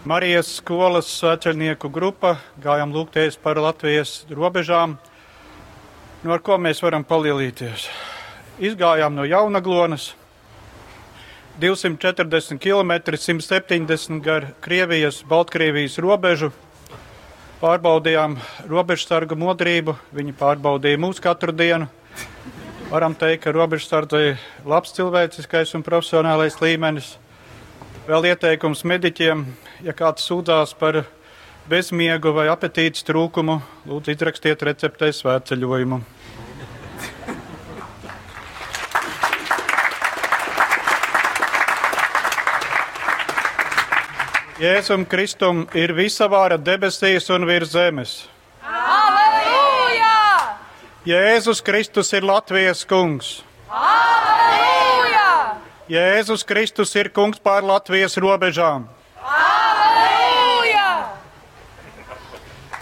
Marijas skolas svētceļnieku grupa, gājām lūgties par Latvijas robežām. Nu, ar ko mēs varam palielīties? Izgājām no Jaunaglonas, 240 km, 170 gar Krievijas, Baltkrievijas robežu. Pārbaudījām robežsargu modrību, viņi pārbaudīja mūs katru dienu. Varam teikt, ka robežsardze ir labs cilvēciskais un profesionālais līmenis. Vēl ieteikums mediķiem, ja kāds sūdzās par bezmiegu vai apetītes trūkumu, lūdzu izrakstiet receptē svētceļojumu. Jēzum Kristum ir visa vara debesīs un virs zemes. Aleluja! Jēzus Kristus ir Latvijas kungs. Aleluja! Jēzus Kristus ir kungs pār Latvijas robežām.